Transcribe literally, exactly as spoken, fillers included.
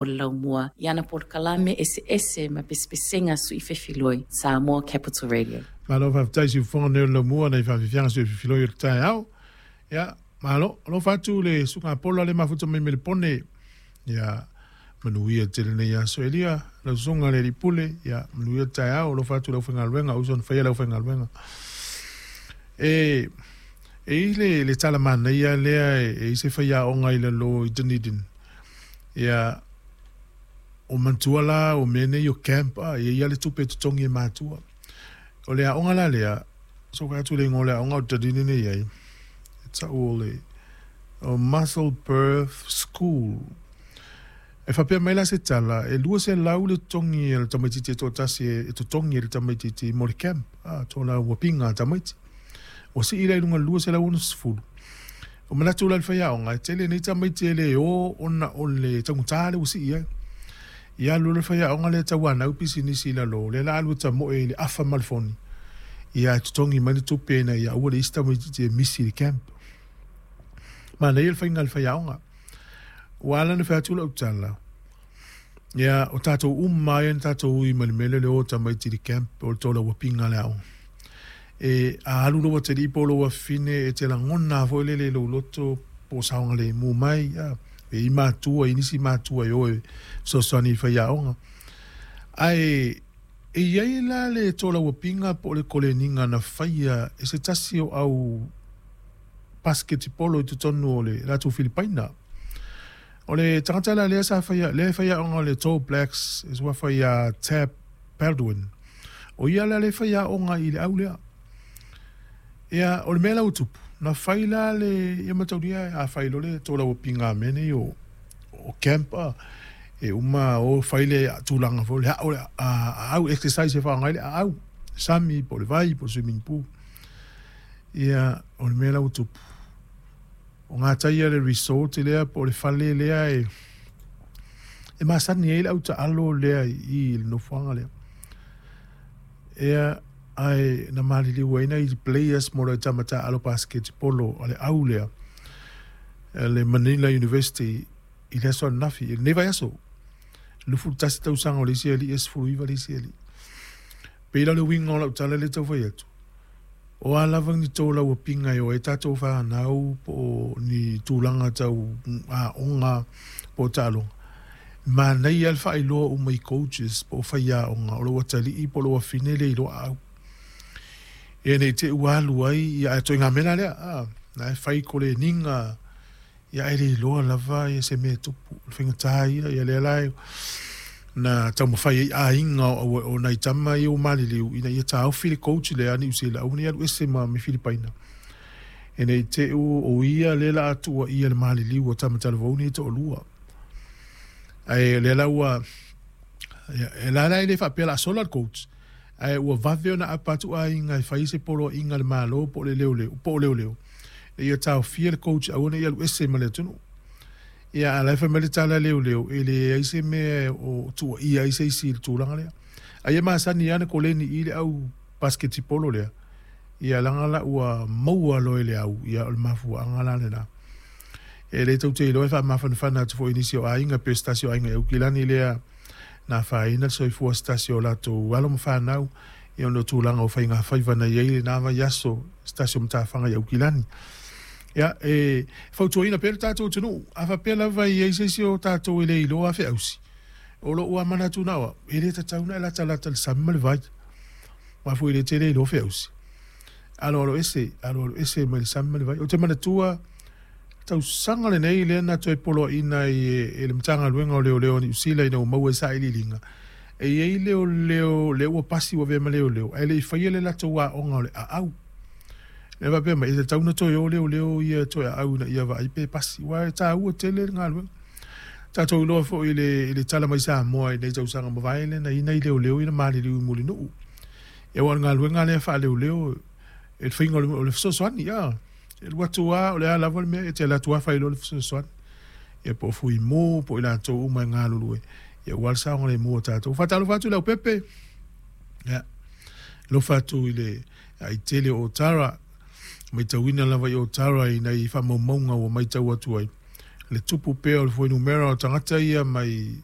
O le laumua i ana polokalame eseese ma pesepesega suifefiloi Samoa Capital Radio. Malo faafetai siufofoga nei o le laumua nai faafiafiaga suifefiloi o le taeao. Ia, malo, alofa atu le suga pola le mafuta mai me le pone. Ia, manuia tele nei aso elia, lau susuga le alii pule, ia, manuia le taeao, alofa atu lau faigaluega, uso na faia lau faigaluega. E, e i le, le tala manaia lea e, e i se faiaoga i lalo i Dunedin. Ia, o matua la o mea nei o camp a, e ia le tupe totogi e matua. O le aoga la lea, so ka atu le ingoa o le aoga o Dunedin nei ai, e tau o le o Musselburgh School. E faapea mai la se tala, e lua selau le totogi e le tamaitiiti e toatasi e totogi e le tamaitiiti mo le camp, a, tōna uapiga a tamaiti. Ua sii la i luga lua selau ono sefulu. O manatu la le faiaoga, e tele nei tamaiti e le o ona o le taugata le ua sii ai. Ia alu le faiaoga lea tauanau pisinisi i lalo, lea la alu e tamoe i le afa ma le foni. Ia e totogi mai le tupe ina ia aua le isi tamaitiiti e misi i le camp. Manaia le faiga a le faiaoga. Ua ala ona fai atu lau tala, ia o tatou uma ai na tatou ui mai le mea lea o le o tamaiti i le camp o le tolauapiga a le aoga. E a alu lou atalii po o lou afafine e te lagona foi lele i lou loto po o saogalemu mai, a, e i matua, i nisi matua e o e fesoasoani i faiaoga. Ae e i ai la le tolauapiga po o le koleniga na faia e se tasi o au pasiketipolo i totonu o le latou Filipaina. O le tagata la lea sa faia, lea e faiaoga o le Tall Blacks, e suafa ia Tab Baldwin. O ia la le faiaoga i le au lea. Ia, o le mea la ua tupu, na fai la le, ia mataulia a fai loa le tolauapiga a mea nei o, o camp a, e uma o fai le tulaga foi le ao le aau exercise e faaaoga ai le aau, sami po o le vai po o le swimming pool. Ia, o le mea la ua tupu, o gataia le resort lea po o le fale lea e, e masani ai le autaalo lea i le nofoaga lea. Ia, ae na maliliu ai nai players mo le tama taalo basketball a le au lea, le Manila University i le aso ananafi, i lenei vaiaso. Lufulu tasi tausaga o le isi alii e sefulu iva le isi alii. Pei la o le uiga o lau tala lea e tau fai atu, o a lava ni tolauapiga e o ai tatou fanau po o ni tulaga tau aoga po o taaloga, manaia le faailoa uma i coaches po o faiaoga o lou atalii po o lou afine le iloa aau. Ia nei te ua alu ai, ia ae ituaiga mea la lea, a, na e fai koleniga, ia ae le iloa lava ia se mea e tupu. O le faigata ia, ia lea la e na taumafai ai aiga o, o nai tama ia ua maliliu ina ia taofi le coach lea a Niu Sila aua ne i alu ese ma me Filipaina. E nei te u o ia lea la atua ia le maliliu o tama talavou nei e toalua. Ae lea la ua, ia, e la la e le faapea o le a sola le coach. Ae ua vave ona apa atu aiga e fai se poloaiga a le Malo po o le leoleo, po o leoleo. Ia taofia le coach aua ne i alu ese ma le atunuu. Ia, a o la e fai mai le tala a leoleo, e leai se mea o tuuaia ai se isi i le tulaga lea. Ai e masani lava ona koleni i le au basketipolo lea, ia leaga la ua maua loa e le au, ia o le mafuaaga la lena. E le tou te iloa e faamafanafana atu foi i nisi o aiga, pe o se tasi o aiga i Aukilani lea na afaina le soifua o se tasi o latou alo ma fanau, ia ona o tulaga o faigafaiva na i ai lena vaiaso, se tasi o matafaga i Aukilani. Ia, e fautuaina pea le tatou atunuu, a faapea lava e i ai se isi o tatou e le iloa feausi, o lou lava manatu na o au, e le tatau ona e latalata i le sami ma le vai. Aua foi e le tele iloa feausi. Aloalo ese, aloalo ese mai le sami ma le vai. Ou te manatua tausaga lenei lea na toe poloaiina ai e le Matagaluega o Leoleo a Niu Sila ina ua maua ai sailiiliga, e i ai leoleo lea ua pasi ua avea ma leoleo ae le i faia le latou aoga o le aau. Lea faapea mai, e tatau ona toe o leoleo ia toe aau ina ia vaai pe pasi, aua e taua tele le galuega. Tatou iloa foi i le, i le tala mai Samoa i nei tausaga mavae lea na i ai nai leoleo ia na maliliu i Mulinuu. Ia aua o le galuega lea faaleoleo, e le faiga o le fesoasoani, a. E alu atu lava, o le a lava le mea, e te alu atu lava fai loa le fesoasoani. Ia po o Fuimu, po o i latou uma e galulue, ia aua le saogalemu o tatou. Faatalofa atu i Leaupepe, ia, alofa atu i le aitele o Otara, matauina lava i Otara i nai faamaumauga ua matau atu ai, Le tupu pea o le fuainumera o tagata ia mai.